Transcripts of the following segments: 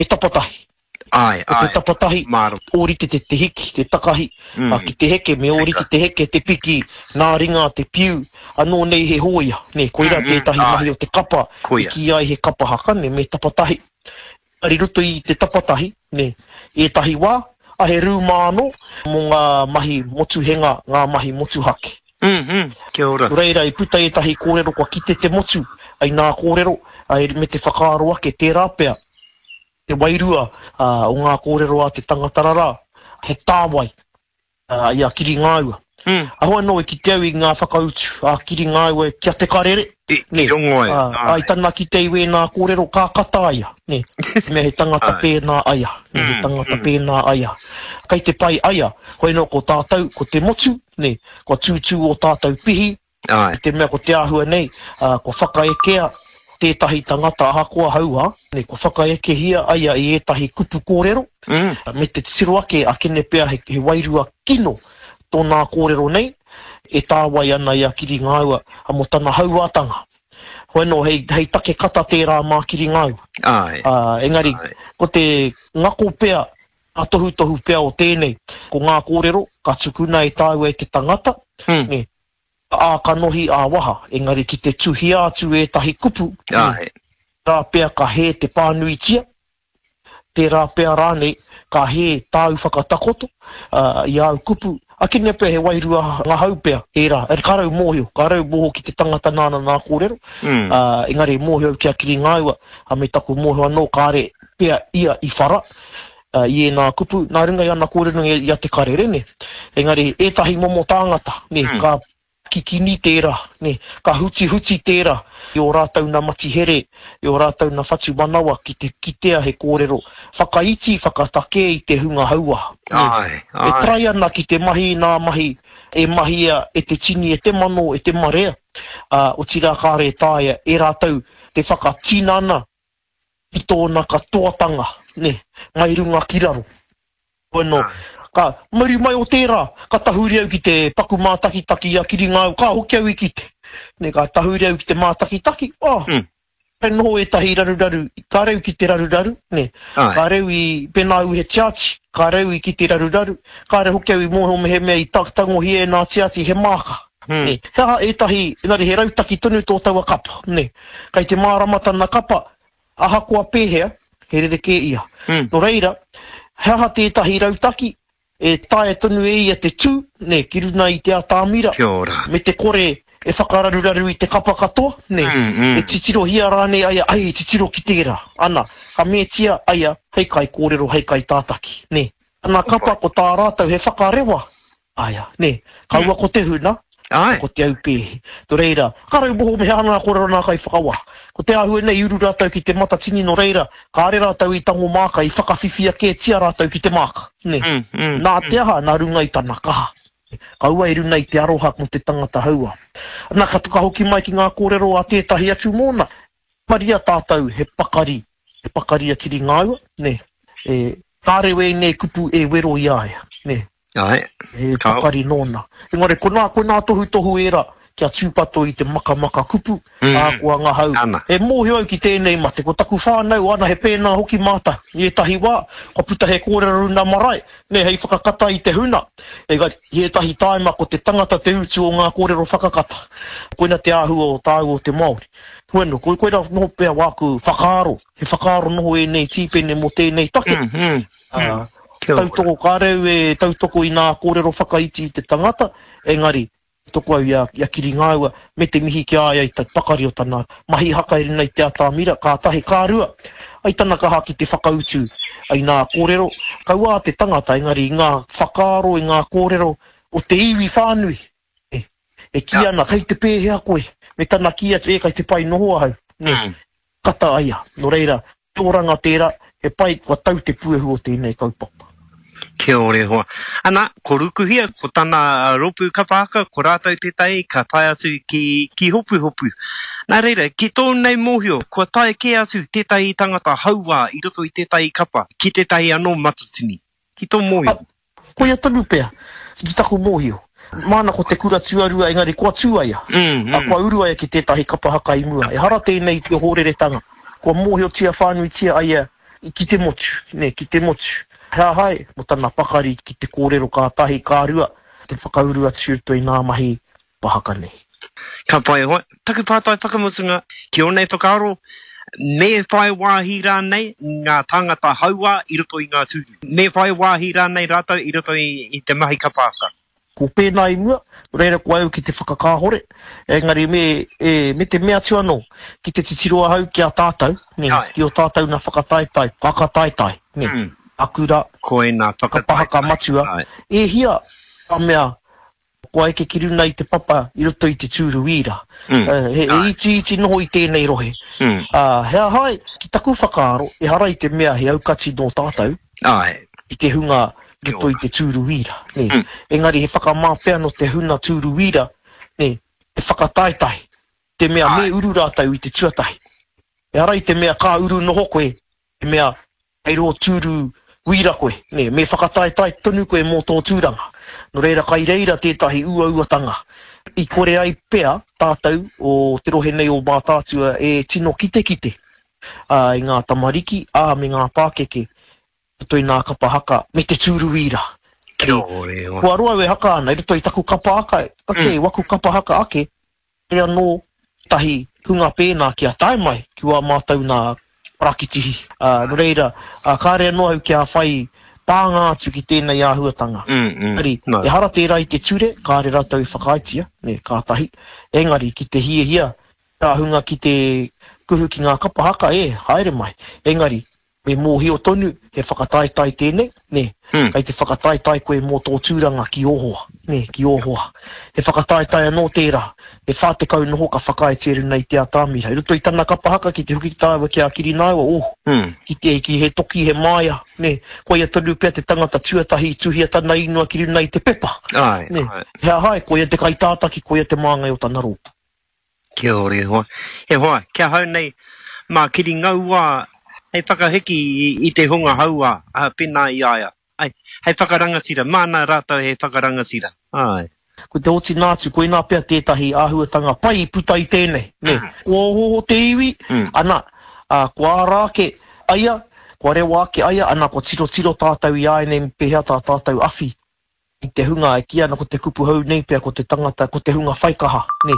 He tapatahi. Āe, Ko te āe. tapatahi, Mārama. ōrite te te hiki, te takahi, ā, Mm. ki te heke, me ōrite Tika. te heke, te piki, nā ringa, te piu, anō nei he hōia, nē, koirā Mm, mm, tētahi mahi āe. o te kapa i Koia. kīia ai he kapa haka, nē, me tapatahi. Engari i roto i te tapatahi, nē, ētahi wā, a he rūma anō mō ngā mahi motuhenga, ngā mahi motuhake. Mm, mm, kia ora. Nō reira, i puta ētahi kōrero kua kite te motu i nā kōrero, me te whakaaro ake tērā pea te wairua o ngā kōrero a te tangata rarā, he tāwai i a Kiringāua. Mm. Aho anō i kite au i ngā whakautu a Kiringāua ki a Te Karere, I, nē, i rongo ai, ā, āe. i tana kite i wēnā kōrero ka kata a ia, nē, te mea he tangata Āe. pēnā a ia, nē, he Mm, tangata mm. pēnā a ia. Kei te pai a ia, hoi anō ko tātou, ko te motu, nē, kua tūtū ō tātou pihi, Āe. i te mea ko te āhua nei, ā, kua whakaekea tētahi tangata ahakoa hauā, nē, kua whakaekehia a ia i ētahi kupu kōrero, Mm. me te titiro ake a kene pea he, he wairua kino tōnā kōrero nei, e tāwai ana i a Kiringāua mō tana hauātanga. Hoi anō, hei, hei take kata tērā mā Kiringāua. Āe. Ā, engari, Āe. ko te ngako pea, ngā tohutohu pea o tēnei, ko ngā kōrero ka tukuna e tāua e te tangata, Mm. nē, ā-kanohi, ā-waha, engari ki te tuhia atu ētahi kupu, nē, Āe. tērā pea ka hē te pānuitia, tērā pea rānei ka hē tāu whakatakoto i āu kupu, akene pea he wairua ngahau pea ērā, ka rau mōhio, ka rau mōhio ki te tangata nāna nā kōrero, engari mōhio au ki a Kiringāua, me taku mōhio anō kāre pea ia i whara i ēnā kupu, nā runga i ana kōrero i a Te Karere, nē. Engari ētahi momo tāngata, nē, ka kikini tērā, nē, ka hutihuti tērā i ō rātou nā matihere, i ō rātou nā whatumanawa ki te kitea he kōrero whakaiti, whakatakē i te hunga hauā, nē. Āe, E āe. try ana ki te mahi i nā mahi e mahia e te tini, e te mano, e te marea, ā, otirā kāre e taea e rātou te whakatinana i tōna katoatanga, nē, mai runga ki raro. Bueno, ka muri mai o tērā, ka tahuri au ki te paku mātakitaki i a Kiringāu, ka hoki au i kite. Nē, ka tahuri au ki te mātakitaki, oh, mm. ka noho ētahi raruraru, ka reu ki te raruraru, nē, Ai. ka reu i, pēnā au he tiati, ka reu i ki te raruraru, kāre hoki au i mōhio mehemea i tangohia e nā tiati he māka. Mm. Nē, he aha ētahi, engari he rautaki tonu tō taua kapa, nē. Kei te mārama tana kapa, Ahakoa pēhea, he rerekē ia. Nō reira, he aha tētahi rautaki e taea tonu e ia te tū, nē, ki runa i te atamira, Kia ora. me te kore e whakararuraru i te kapa katoa, nē, e titirohia rānei a ia, ai, titiro ki tērā, ana, ka metia a ia hei kaikōrero, hei kaitātaki, nē. Ana kapa ko tā rātou he whakarewa Aia, nē, kaua ko te huna, Āe. ko te aupēhi. Nō reira, ka raumoho me he aha ngā kōrero nā kaiwhakawā. Ko te āhua nei i uru rātou ki te matatini nō reira, kāre rātou i tango māka, i whakawhiwhia kētia rātou ki te māka, nē. Nā te aha, nā runga i tana kaha. Kaua i runa i te aroha mō te tangata hauā. Nā, ka ka hoki mai ki ngā kōrero a tētahi atu mōna. Maria tātou he pakari, he pakari a Kiringāua, nē. E, kāre wēnei kupu e wero i a ia, nē. Āe, He kāo. pakari nōna. Engari ko nā, ko nā tohutohu ērā kia tūpato i te makamaka kupu, ā, kua ngahau. Ana. E mōhio au ki tēnei mate, ko taku whānau, ana he pēnā hoki mātou. I ētahi wā, kua puta he kōrero runa marae, nē, hei whakakata i te huna. Engari, i ētahi tāima ko te tangata te utu o ngā kōrero whakakata. Koina te āhua o tāua o te Māori. Bueno, ko, koira noho pea wāku whakaaro, he whakaaro noho ēnei tīpene mō tēnei take. Mm, mm, mm. Kia ora. Tautoko, kāre au e tautoko i nā kōrero whakaiti i te tangata, engari, tautoko au i a, i a Kiringāua, me te mihi ki a ia i te pakari o tana mahi haka i runga i te atamira, ka tahi, ka rua, ai tana kaha ki te whakautu i nā kōrero, kaua a te tangata, engari i ngā whakaaro, i ngā kōrero o te iwi whānui, e, e kī ana, kei te pēhea koe? Me tana kī atu, e, kei te pai noho ahau, nē, kata a ia. Nō reira, he oranga tērā, he pai kua tau te puehu o tēnei kaupapa. Kia ora e hoa. Ana, ko Rukuhia, ko tana rōpū kapa haka, ko rātou tētahi ka tae atu ki, ki Hopuhopu. Nā reira, ki tōu nei mōhio, kua tae kē atu tētahi tangata hauā i roto i tētahi kapa, ki tētahi anō matatini. Ki tō mōhio. Koia tonu pea, ki taku mōhio. Māna ko te kura tuarua engari kua tū a ia. Ā, kua uru a ia ki tētahi kapa haka i mua. Ehara tēnei i te ohōreretanga. Kua mōhiotia whānuitia a ia ki te motu, nē, ki te motu. He aha ai mō tana pakari ki te kōrero ka tahi, ka rua, te whakauru atu i roto i ngā mahi pahaka nei. Ka pai e hoa. Taku pātai whakamutunga, ki ō nei whakaaro, me whai wāhi rānei ngā tāngata hauā i roto i ngā tūru? Me whai wāhi rānei rātou i roto i te mahi kapa haka? Ko pēnā i mua, nō reira ko au ki te whakakāhore, engari me, e, me te mea atu anō, ki te titiro ahau ki a tātou, nē, ki ō tātou nā whakataetae, whakataetae, nē, a kura, Koinā whakataetae, kapa haka matua, e hia ka mea kua eke ki runa i te papa i roto i te tūru wīra. He itiiti noho i tēnei rohe. Ā, he aha ai, ki taku whakaaro, ehara i te mea he aukati nō tātou, i te hunga i roto i te tūru wīra, nē. Engari he whakamā pea nō te huna tūru wīra, nē, te whakataetae, te mea me uru rātou i te tuatahi. Ehara i te mea ka uru noho koe, te mea Kei rō tūru wīra koe, nē, me whakataetae tonu koe mō tō tūranga. Nō reira kai reira tētahi uauatanga i kore ai pea tātou o te rohe nei o Mātaatua e tino kitekite i ngā tamariki, ā, me ngā pākeke i roto i ngā kapa haka me te tūru wīra. Kia ora e hoa. Kua roa au e haka ana i roto i taku kapa haka ake, waku kapa haka ake, Kāore anō tētahi hunga pēnā kia tae mai ki wā mātou nā parakitihi. Nō reira, kāore anō au kia whai pānga atu ki tēnei āhuatanga. Engari, ehara tērā i te ture, kāore rātou i whakaaetia, nē, kātahi. Engari, ki te hiahia tērā hunga ki te kuhu ki ngā kapa haka, e, haere mai. Engari, Me mōhio tonu he whakataetae tēnei, nē, kei te whakataetae koe mō tō tūranga ki ō hoa, nē, ki ō hoa. He whakataetae anō tērā, he 40 noho ka whakaaetia runa i te atamira. I roto i tana kapa haka ki te hoki tāua ki a Kirināua, oh, ki te, ki he toki, he māia, nē, koia tonu pea te tangata tuatahi i tuhia tana ingoa ki runa i te pepa, nē, he aha ai, koia te kaitātaki, koia te māngai o tana rōpū. Kia ora e hoa. E hoa, ki ahau nei, mā Kiri Ngauā hei whakahiki i te hunga hauā, pēnā i a ia. Ai, hei whakarangatira, māna rātou hei whakarangatira. Āe. Ko te otinga atu, koinā pea tētahi āhuatanga pai i puta i tēnei, nē. Kua ohooho te iwi, ana, ā, kua ara ake a ia, kua rewa ake a ia, ana, kua tirotiro tātou i āianei me pēhea tā tātou awhi i te hunga e kī ana ko te kupu hou nei pea ko te tangata, ko te hunga whaikaha, nē,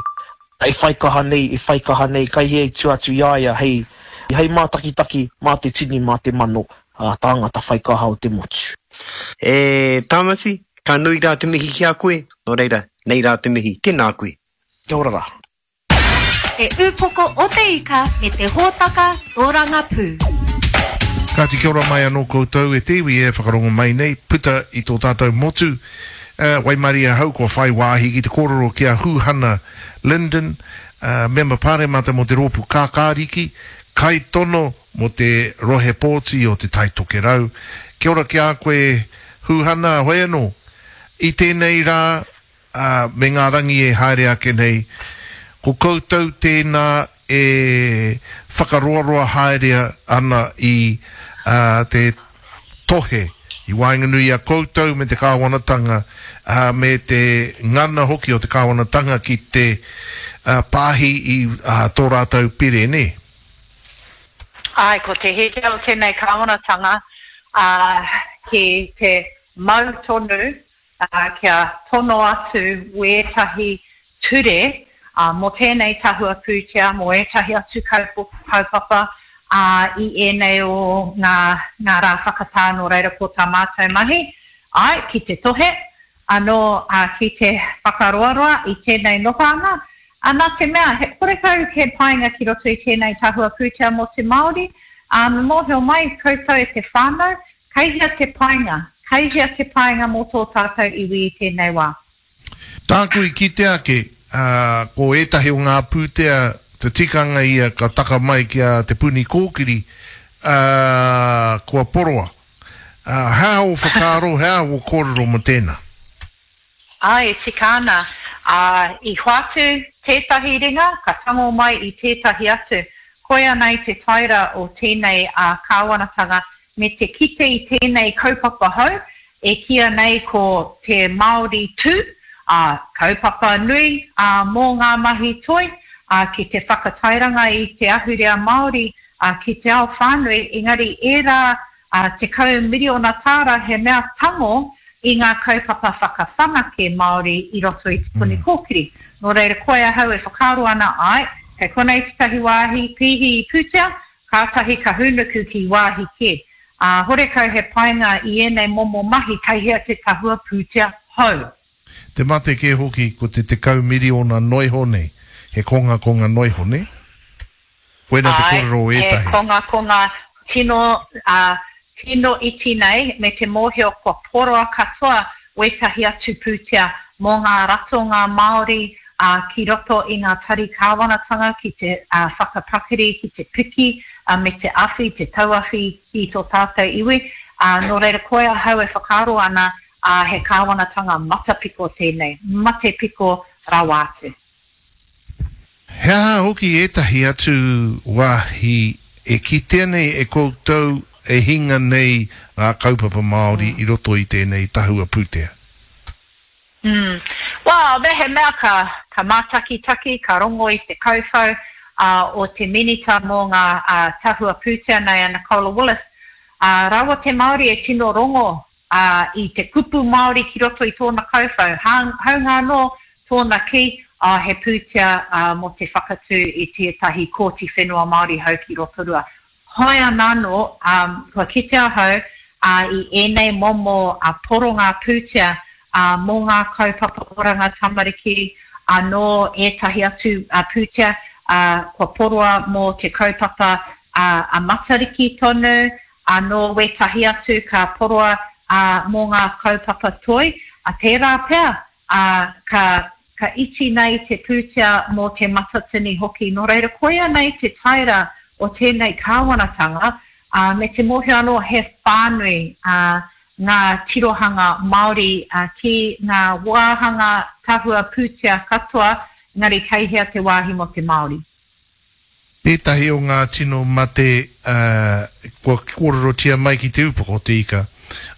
e whaikaha nei, e whaikaha nei, kai hea i tua atu i a ia hei, hei mātakitaki mā te tini, mā te mano, ā, tāngata whaikaha o te motu. E Tāmati, ka nui rā te mihi ki a koe, nō reira, nei rā te mihi, tēnā koe. Kia ora rā. Te Ūpoko o te Ika me te hōtaka Tōrangapū. Kāti kia ora mai anō koutou e te iwi e whakarongo mai nei, puta i tō tātou motu. Waimarie ahau kua whai wāhi ki te kōrero ki a Huhana Lyndon, Mema Pāremata mō te Rōpū Kākāriki, kaitono mō te rohe pōti o Te Tai Tokerau. Kia ora ki a koe Huhana, hoi anō, i tēnei rā, ā, me ngā rangi e haere ake nei, ko koutou tēnā e whakaroaroa haere ana i te tohe i waenganui i a koutou me te kāwanatanga, ā, me te ngana hoki o te kāwanatanga ki te pāhi i tō rātou pire, nē? Āe, ko te hiahia o tēnei kāwanatanga, ā, ki te mau tonu ā, kia tono atu wētahi ture mō tēnei tahua pūtea, mō ētahi atu kaupapa, ā, i ēnei o ngā, ngā rā whakatā, nō reira ko tā mātou mahi, āe, ki te tohe, anō, ā, ki te whakaroaroa i tēnei nohoanga, ā, nā te mea, he horekau he painga ki roto i tēnei tahua pūtea mō te Māori, ā, me mōhio mai koutou e te whānau, Kei hea te painga? Kei hea te painga mō tō tātou iwi i tēnei wā? Tāku i kite ake, ā, ko ētahi o ngā pūtea, te tikanga ia ka taka mai ki a Te Puni Kōkiri, ā, kua poroa. Ā, he aha ō whakaaro, he aha ō kōrero mō tēnā? Ā, e tika ana, ā, i hoatu tētahi ringa, ka tango mai i tētahi atu. Koia nei te taera o tēnei kāwanatanga me te kite i tēnei kaupapa hou e kīia nei ko Te Māori Tū, ā, kaupapa nui, ā, mō ngā mahi toi, ā, ki te whakatairanga i te ahurea Māori, ki te ao whānui, engari ērā 10 miriona tāra he mea tango i ngā kaupapa whakawhanake Māori i roto i Te Puni Kōkiri. Nō reira, koe ahau e whakaaro ana, āe, kei konei tētahi wāhi pīhi i pūtea, kātahi ka hūnuku ki wāhi kē. Ā, horekau he painga i ēnei momo mahi kei hea te tahua pūtea hou. Te mate kē hoki ko te 10 miriona noiho nei, he kongakonga noiho, nē? Koina te Āe, kōrero o he ētahi. kongakonga tino, ā, tino iti nei me te mōhio kua poroa katoa wētahi atu pūtea mō ngā ratonga Māori, ā, ki roto i ngā tari kāwanatanga ki te, ā, whakapakari, ki te piki, ā, me te awhi, te tauawhi i tō tātou iwi. Ā, nō reira koe ahau e whakaaro ana, ā, he kāwanatanga matapiko tēnei, mate piko rawa atu. He aha hoki ētahi atu wāhi e kitea nei e koutou e hinga nei ngā kaupapa Māori i roto i tēnei tahua pūtea? Mm. Well, mehemea ka, ka mātakitaki, ka rongo i te kauwhau ā, o te Minita mō ngā ā, tahua pūtea nei a Nicola Willis, ā, rawa te Māori e tino rongo ā, i te kupu Māori ki roto i tōna kauwhau, hāunga anō tōna kī, ā, he pūtea ā, mō te whakatū i tētahi Kōti Whenua Māori hou ki Rotorua. Hoi anānō, ā, kua kite ahau, ā, i ēnei momo ā, poronga pūtea, ā, mō ngā kaupapa oranga tamariki, anō ētahi atu ā, pūtea, ā, kua poroa mō te kaupapa ā, a Matariki tonu, Anō wētahi atu ka poroa ā, mō ngā kaupapa toi, ā, tērā pea, ā, ka, ka iti nei te pūtea mō Te Matatini hoki. Nō reira, koia nei te taera o tēnei kāwanatanga, ā, me te mōhio anō he whānui, ā, ngā tirohanga Māori, ā, ki ngā wāhanga tahua pūtea katoa, engari kei hea te wāhi mō te Māori. Tētahi o ngā tino mate kua kōrerotia mai ki te upoko o te ika,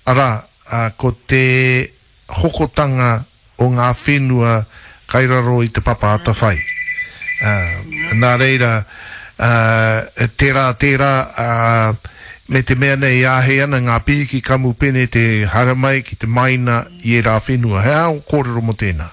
arā, ko te hokotanga o ngā whenua kai raro i te papa atawhai. Nā reira, tērā, tērā, me te mea nei e āhei ana ngā pihiki kamupene te haere mai ki te maina i ērā whenua. He aha ō kōrero mō tēnā?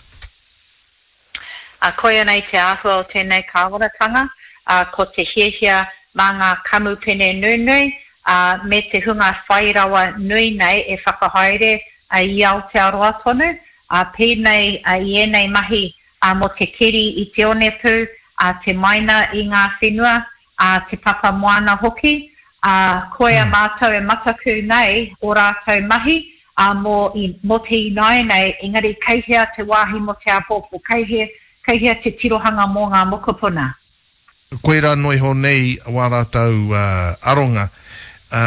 Ā, koia nei te āhua o tēnei kāwanatanga, ā, ko te hiahia mā ngā kamupene nunui, ā, me te hunga whai rawa nui nei e whakahaere i Aotearoa tonu, ā, pēnei i ēnei mahi mō te keri i te onepū, ā, te maina i ngā whenua, ā, te papa moana hoki, ā, koia mātou e mataku nei ō rātou mahi, ā, mō, i, mō te ināianei, engari kei hea te wāhi mō te āpōpō, kei hea, kei hea te tirohanga mō ngā mokopuna? Koirā noa iho nei wā rātou aronga. Ā,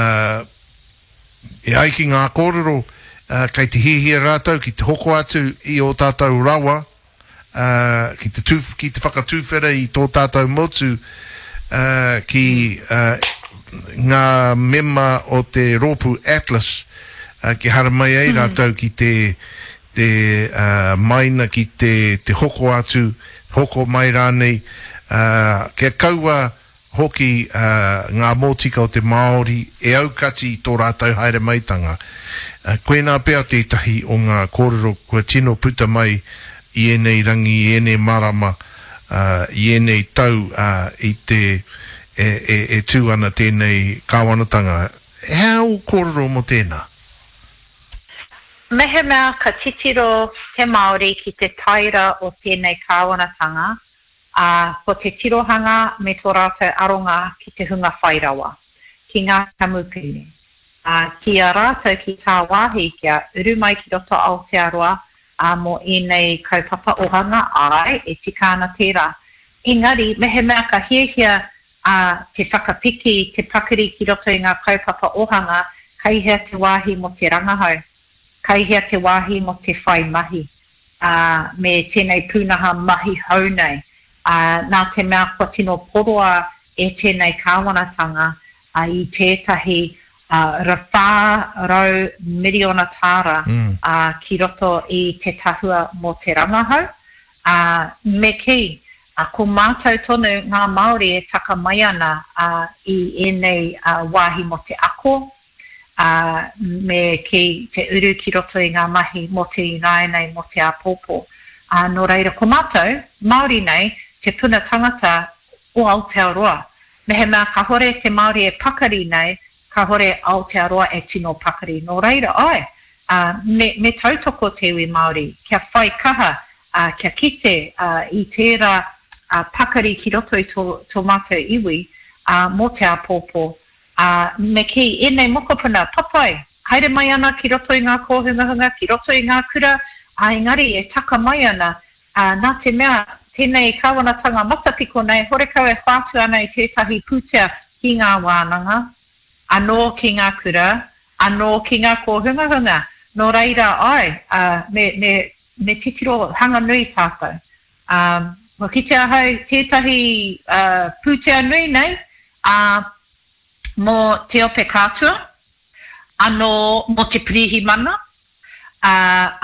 e ai ki ngā kōrero, ā, kei te hiahia rātou ki te hoko atu i ō tātou rawa, ā, ki te tū, ki te whakatūwhera i tō tātou motu, ā, ki, ā, ngā mema o te rōpū Atlas, ā, kia haramai ai rātou ki te, te, ā, maina ki te, te hoko atu, hoko mai rānei, ā, kia kaua hoki ngā mōtika o te Māori e aukati i tō rātou haere maitanga. Koinā pea tētahi o ngā kōrero kua tino puta mai i ēnei rangi, i ēnei marama, i ēnei tau i te e tū ana tēnei kāwanatanga. He aha ō kōrero mō tēnā? Mehemea ka titiro te Māori ki te taera o tēnei kāwanatanga, ā, ko te tirohanga me tō rātou aronga ki te hunga whai rawa, ki ngā kamupene, ā, ki a rātou ki tāwāhi kia uru mai ki roto Aotearoa, ā, mō ēnei kaupapa ohanga, āe, e tika ana tērā. Engari, mehemea ka hiahia ā, te whakapiki, te pakari ki roto i ngā kaupapa ohanga, kei hea te wāhi mō te rangahau? Kei hea te wāhi mō te whai mahi? ā, me tēnei pūnaha mahi hou nei, ā, nā te mea kua tino poroa e tēnei kāwanatanga i tētahi 400 miriona tāra ki roto i te tahua mō te rangahau, ā, me kī, Ā, ko mātou tonu ngā Māori e taka mai ana i ēnei wāhi mō te ako, ā, me kī, te uru ki roto i ngā mahi mō te ināianei, mō te āpōpō. Ā, nō reira, ko mātou, Māori nei, te puna tangata o Aotearoa. Mehemea kāhore te Māori e pakari nei, Kāhore Aotearoa e tino pakari. Nō reira, āe, ā, me, me tautoko te iwi Māori kia whai kaha, ā, kia kite, ā, i tērā, ā, pakari ki roto i tō, tō mātou iwi, ā, mō te āpōpō. Ā, me kī, ēnei mokopuna, papai, haere mai ana ki roto i ngā kōhungahunga, ki roto i ngā kura, ā, engari e taka mai ana, ā, nā te mea, tēnei kāwanatanga matapiko nei, horekau e whātu ana i tētahi pūtea ki ngā wānanga, anō ki ngā kura, anō ki ngā kōhungahunga. Nō reira, āe, ā, me, me, me titiro hanga nui tātou. Ā, kua kite ahau tētahi, ā, pūtea nui nei, ā, mō Te Ope Kātua, anō mō te Pirihimana, ā,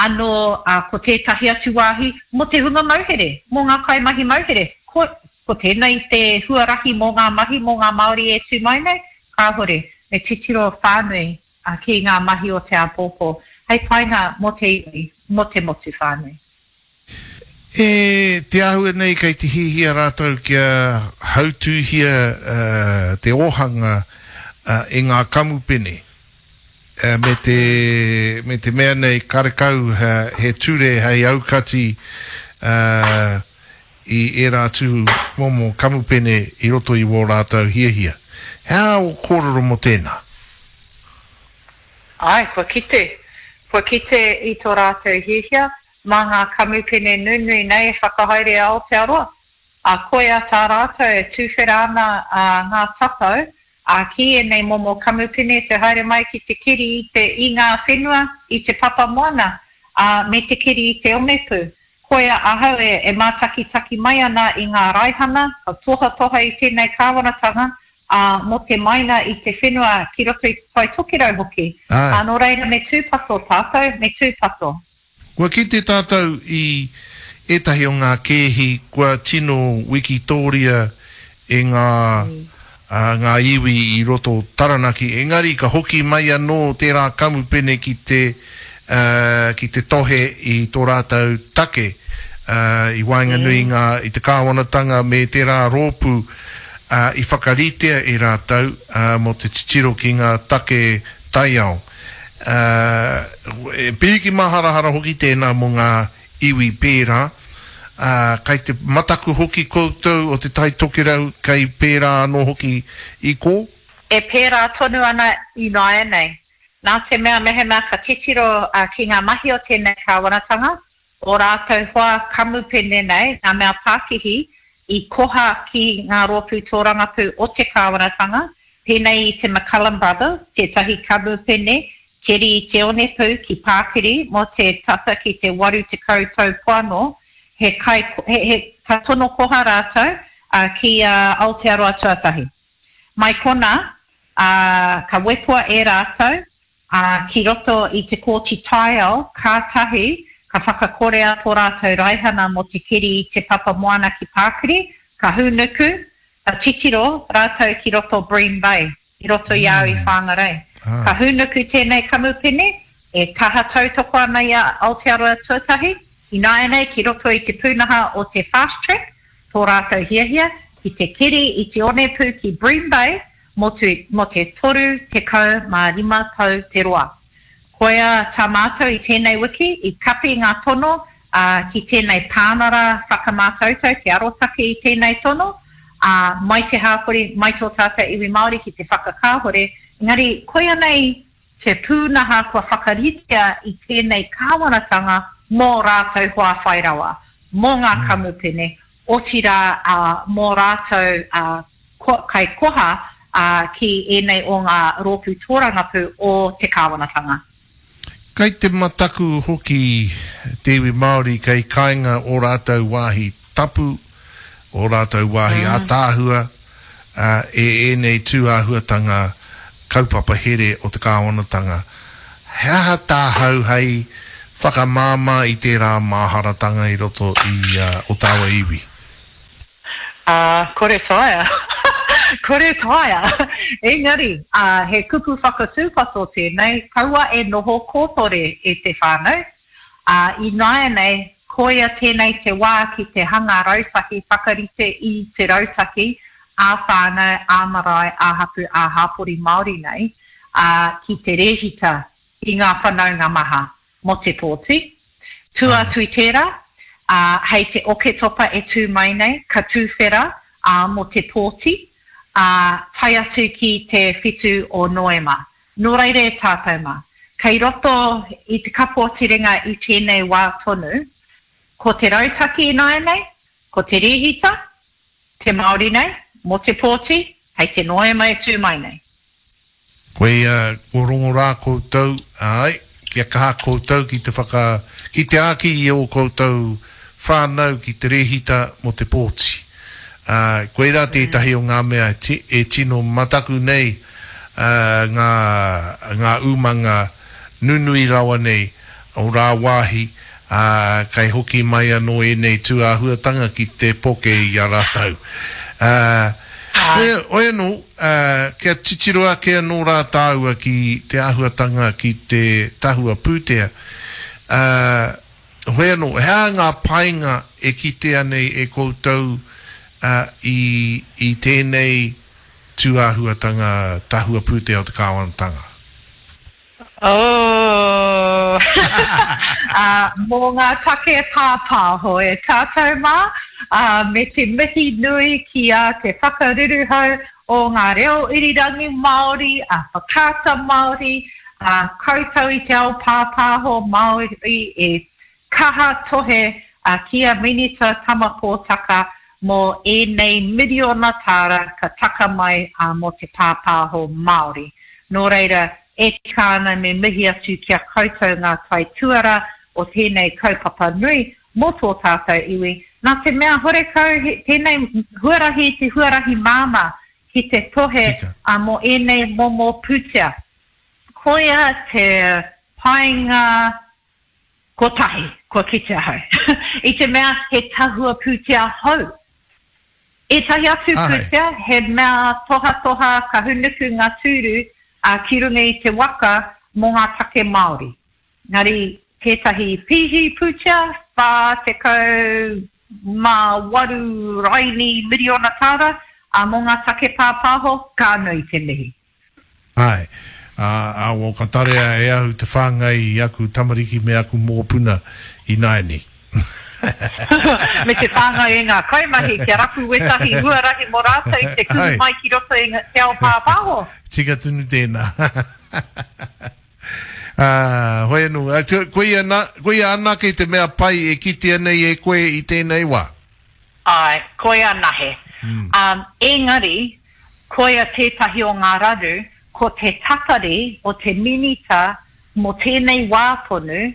anō, ā, ko tētahi atu wāhi mō te hunga mauhere, mō ngā kaimahi mauhere. Ko, ko tēnei te huarahi mō ngā mahi mō ngā Māori e tū mai nei? Kāhore. Me titiro whānui ki ngā mahi o te āpōpō, hei painga mō te iwi, mō te motu whānui. E te āhua nei kei te hihia rātou kia hautūhia te ōhanga e ngā kamupene me te, me te mea nei karekau he ture hei aukati i ērā atu momo kamupene i roto i wō rātou hiahia. He aha ō kōrero mō tēnā? Āe, kua kite. Kua kite i tō rātou hiahia. Mā ngā kamupene nunui nei e whakahaere a Aotearoa, ā, koia tā rātou e tuwhera ana ngā tatau, ā, ki ēnei momo kamupene te haere mai ki te keri i te, i ngā whenua, i te papa moana, ā, me te keri i te onepū. Koia ahau e, e mātakitaki mai ana i ngā raihana, ka tohatoha i tēnei kāwanatanga, ā, mō te maina i te whenua ki roto i Te Tai Tokerau hoki. Āe. Ā, nō reira me tūpato tātou, me tūpato. Kua kite tātou i ētahi o ngā kēhi kua tino wikitōria e ngā ngā iwi i roto o Taranaki, engari ka hoki mai anō tērā kamupene ki te ki te tohe i tō rātou take i waenganui i ngā i te kāwanatanga me tērā rōpū i whakaritea e rātou mō te titiro ki ngā take taiao. Ā, e pīki māharahara hoki tēnā mō ngā iwi pērā. Ā, kai te mataku hoki koutou o Te Tai Tokerau kei pērā anō hoki i kō? E pērā tonu ana ināianei. Nā te mea mehemea ka titiro ki ngā mahi o tēnei kāwanatanga, ō rātou hoa kamupene nei, ngā mea pākihi, i koha ki ngā rōpū tōrangapū o te kāwanatanga, pēnei i te McCullum Brothers, tētahi kamupene keri i te onepū ki Pākiri mō te tata ki te 80 tau poano, he kai, he, he, ka tono koha rātou, ā, ki a Aotearoa Tuatahi. Mai konā, ā, ka wepoa e rātou, ā, ki roto i te Kōti Taiao, kātahi ka whakakorea tō rātou raihana mō te keri i te papa moana ki Pākiri, ka hūnuku, ka titiro rātou ki roto Bream Bay, i roto i a au i Whangarei. Ka hūnuku tēnei kamupene, e kaha tautoko ana i a Aotearoa Tuatahi, ināianei ki roto i te pūnaha o te Fast Track, tō rātou hiahia ki te keri i te onepū ki Bream Bay, mō te, mō te 35 tau te roa. Koia tā mātou i tēnei wiki, i kapi ngā tono, ā, ki tēnei pānara whakamātautau, te arotake i tēnei tono, ā, mai te hāpori, mai tō tātou iwi Māori ki te whakakāhore, engari koia nei te pūnaha kua whakaritea i tēnei kāwanatanga mō rātou hoa whai rawa, mō ngā kamupene, otirā, ā, mō rātou, ā, kaikoha, ā, ki ēnei o ngā rōpū tōrangapū o te kāwanatanga. Kei te mataku hoki te iwi Māori kei kainga ō rātou wāhi tapu, ō rātou wāhi ātaahua, ā, e ēnei tū āhuatanga kaupapa here o te kāwanatanga. He aha tāhau hei whakamāmā i tērā māharatanga i roto i ō tāua iwi? Ā, kore taea. Kore taea. Engari, ā, he kupu whakatūpato tēnei, kaua e noho kōtore e te whānau. Ā, ināianei, koia tēnei te wā ki te hanga rautaki, whakarite i te rautaki ā-whānau, ā-marae, ā-hapū, ā-hāpori Māori nei, ā, ki te rēhita i ngā whanaunga maha mō te pōti. Tua atu i tērā, ā, hei te Oketopa e tū mai nei, ka tuwhera, ā, mō te pōti, ā, tae atu ki te whitu o Noema. Nō reira e tātou mā, kei roto i te kapo terenga i tēnei wā tonu, ko te rautaki ināianei, ko te rēhita, te Māori nei, mō te pōti, hei te Noema e tū mai nei. Koia, ko rongo rā koutou, āe, kia kaha koutou ki te whaka, ki te āki i ō koutou whānau ki te rēhita mō te pōti. Ā, koirā tētahi o ngā mea e tino mataku nei ngā, ngā umanga nunui rawa nei o rāwāhi, ā, kei hoki mai anō ēnei tū āhuatanga ki te poke i a rātou. Ā, hoi anō, ā, kia titiro ake anō rā tāua ki te āhuatanga ki te tahua pūtea, ā, hoi anō, he aha ngā painga e kitea nei e koutou, ā, i, i tēnei tū āhuatanga tahua pūtea o te kāwanatanga? Oh! Ā, mō ngā take pāpāho e tātou mā, ā, me te mihi nui ki a Te Whakaruruhau o ngā Reo Irirangi Māori, a Whakaata Māori, ā, koutou i te ao pāpāho Māori e kaha tohe a ki a Minita Tama Potaka mō ēnei miriona tāra ka taka mai mō te pāpāho Māori. Nō reira, e tika ana me mihi atu ki a koutou ngā taituara o tēnei kaupapa nui mō tō tātou iwi, nā te mea horekau tēnei huarahi te huarahi māmā ki te tohe mō ēnei momo pūtea. Koia te painga Kotahi, kua kite ahau. I te mea he tahua pūtea hou. Ētahi atu pūtea, he mea tohatoha ka hunuku ngā tūru ki runga i te waka mō ngā take Māori. Engari tētahi pīhi pūtea, 48 raini miriona tāra, mō ngā take pāpāho, ka nui te mihi. Āe. Ā, ā, o ka tarea e ahu te whāngai i aku tamariki me aku mokopuna ināianei. Me te whāngai e ngā kaimahi kia rapu wētahi huarahi mō rātou te kuhu mai ki roto i te ao pāpāho. Tika tonu tēnā. Ā, hoi anō, koia, nā, koia anake te mea pai e kitea nei e koe i tēnei wā? Āe, koia anahe. Um, engari, koia tētahi o ngā raru, ko te tatari o te Minita mō tēnei wā tonu,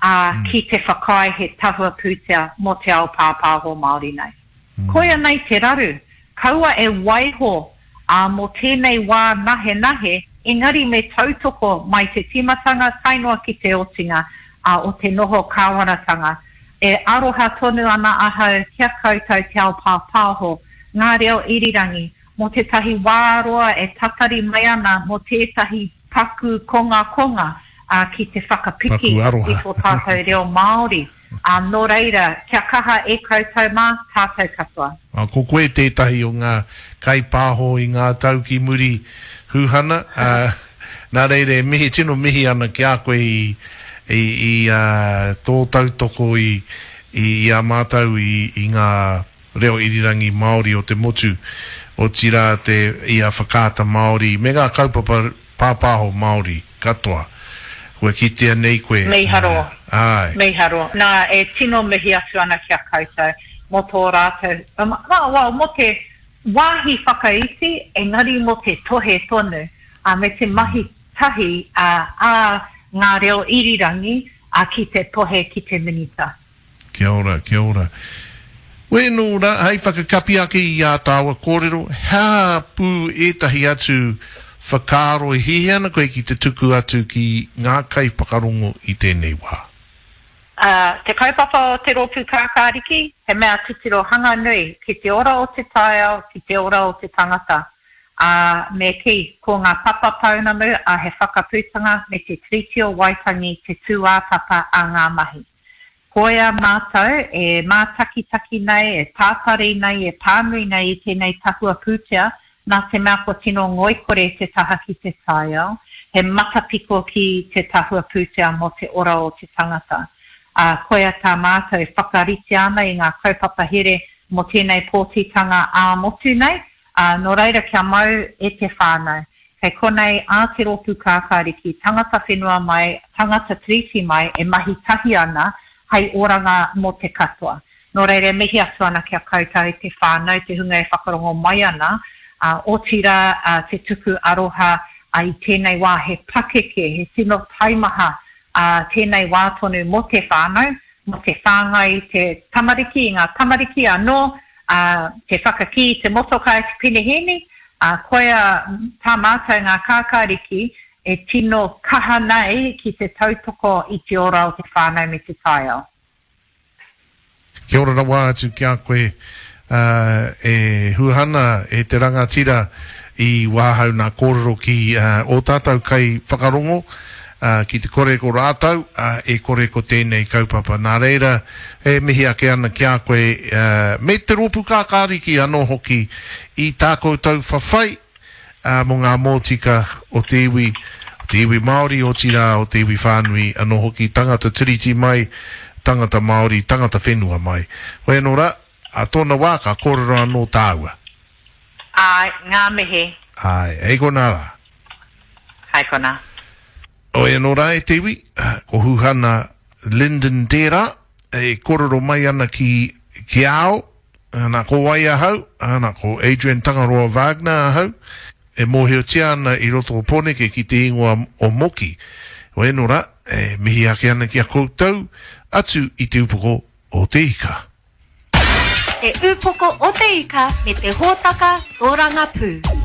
ā, ki te whakaae he tahua pūtea mō te ao pāpāho Māori nei. Koia nei te raru, kaua e waiho, ā, mō tēnei wā nahenahe, engari me tautoko mai te tīmatanga tae noa ki te otinga, ā, o te noho kāwanatanga. E aroha tonu ana ahau ki a koutou te ao pāpāho, ngā reo irirangi, mō tētahi wā roa e tatari mai ana mō tētahi paku kongakonga ā, ki te whakapiki i tō tātou reo Māori. Ā, nō reira, kia kaha e koutou mā, tātou katoa. Ā, ko koe tētahi o ngā kaipāho i ngā tau ki muri, Huhana, ā, nā reira e mihi, tino mihi ana ki a koe i, i, i ā, tō tautoko i, i, i a mātou i, i ngā reo irirangi Māori o te motu, otirā te, i a Whakaata Māori me ngā kaupapa pāpāho Māori katoa. Kua kitea nei koe. Mīharo. Āe. Mīharo. Nā, e tino mihi atu ana ki a koutou mō tō rātou, well, mō te wāhi whakaiti, engari mō te tohe tonu, ā, me te mahi tahi ā ngā reo irirangi ki te tohe ki te Minita. Kia ora, kia ora. Wēnō rā, hei whakakapi ake i ā tāua kōrero, he aha pū ētahi atu whakaaro e hiahia ana koe ki te tuku atu ki ngā kaiwhakarongo i tēnei wā? Ā, te kaupapa o Te Rōpū Kākāriki, he mea titiro hanga nui ki te ora o te taiao, ki te ora o te tangata. Ā, me kī, ko ngā papa pounamu a He Whakaputanga me te Tiriti o Waitangi te tūāpapa a ngā mahi. Koia mātou e mātakitaki nei, e tātari nei, e pānui nei i tēnei tahua pūtea, nā te mea kua tino ngoikore te taha ki te taiao, he matapiko ki te tahua pūtea mō te ora o te tangata. Ā, koia tā mātou e whakaritea ana i ngā kaupapa here mō tēnei pōtitanga ā-motu nei, ā, nō reira kia mau e te whānau. Kei konei a Te Rōpū Kākāriki, tangata whenua mai, tangata Tiriti mai e mahi tahi ana hei oranga mō te katoa. Nō reira e mihi atu ana ki a koutou te whānau, te hunga e whakarongo mai ana, ā, otirā te tuku aroha i tēnei wā he pakeke, he tino taimaha tēnei wā tonu mō te whānau, mō te whāngai i te tamariki, i ngā tamariki anō, ā, te whakakī i te motokā i te penehēni, ā, koia tā mātou ngā kākāriki e tino kaha nei ki te tautoko i te ora o te whānau me te taiao. Kia ora rawa atu ki a koe e Huhana, e te rangatira i wāhau nā kōrero ki ō tātou kai whakarongo, ki te kore ko rātou, e kore ko tēnei kaupapa. Nā reira, e mihi ake ana ki a koe me te rōpū kākāriki anō hoki i tā koutou whawhai ā, mō ngā mōtika o te iwi, o te iwi Māori, otirā, o te iwi whānui anō hoki, tangata Tiriti mai, tangata Māori, tangata whenua mai. Hoi anō rā, ā tōna wā ka kōrero anō tāua. Āe, ngā mihi. Āe, hei konā rā. Hei konā. Hoi anō rā e te iwi, ko Huhana Lyndon tērā, e kōrero mai ana ki, ki a au, Ana, ko wai ahau? Ana, ko Adrian Tangaroa Wagner ahau, e mōhiotia ana i roto o Pōneke ki te ingoa o Moki. Heoi anō rā, e mihi ake ana ki a koutou, atu i te upoko o te ika. Te Upoko o te Ika me te hōtaka tōrangapū.